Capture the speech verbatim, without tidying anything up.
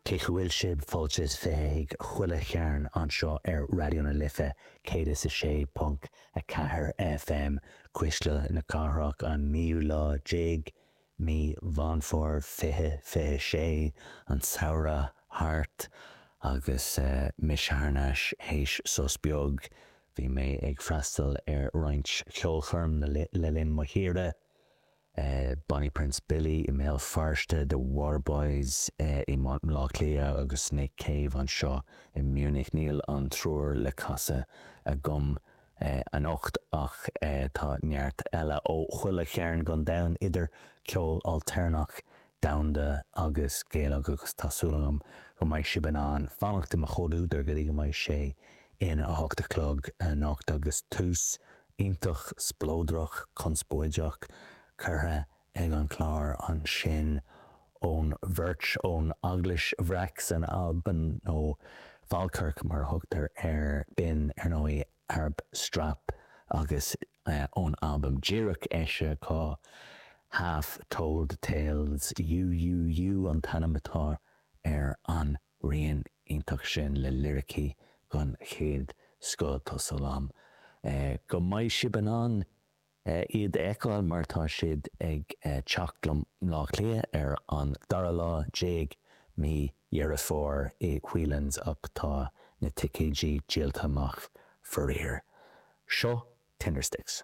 Cén chaoi a bhfuil sibh? Fáilte is fiche chuig Chuile Chearn anseo ar Raidió na Life céad is a sé ponc a ceathair F M, Cuisle na Cathrach, an naoú lá déag mí Mheán Fómhair fiche fiche sé, an samhradh thart agus mise thar n-ais théis sos beag. Bhí mé ag freastal ar roinnt ceolchoirm le linn mo shaoire. Bonnie Prince Billy i mBéal Feirste, The Waterboys i mBaile Átha Cliath agus Nick Cave anseo i Munich. Níl an triúr le casadh agam anocht ach tá neart eile ó chuile chearn den domhan, idir ceol ailtéarnach, domhanda agus Gaelach, agus tá súil agam go mbeidh sibh in ann fanacht i mo chomhluadar go dtí go mbeidh sé ina a hocht a chlog anocht. Agus tús iontach spleodrach conspóideach curtha ag an chlár ansin ón bheirt ón Eaglais Bhreac san Albain, nó Falkirk mar a thugtar air. B'in ar ndóigh Arab Strap agus ón albam díreach eisithe acu, Half Told Tales, You You You an t-ainm atá ar an rian iontach sin le liricí den chéad scoth. Tá súil agam go mbeidh sibh in ann iad a fheiceáil mar tá siad ag teacht go Bleá Cliath ar an dara lá déag mí Dheireadh Fómhair i Whelan's, ach tá na ticéidí díolta amach faraor. Seo Tindersticks.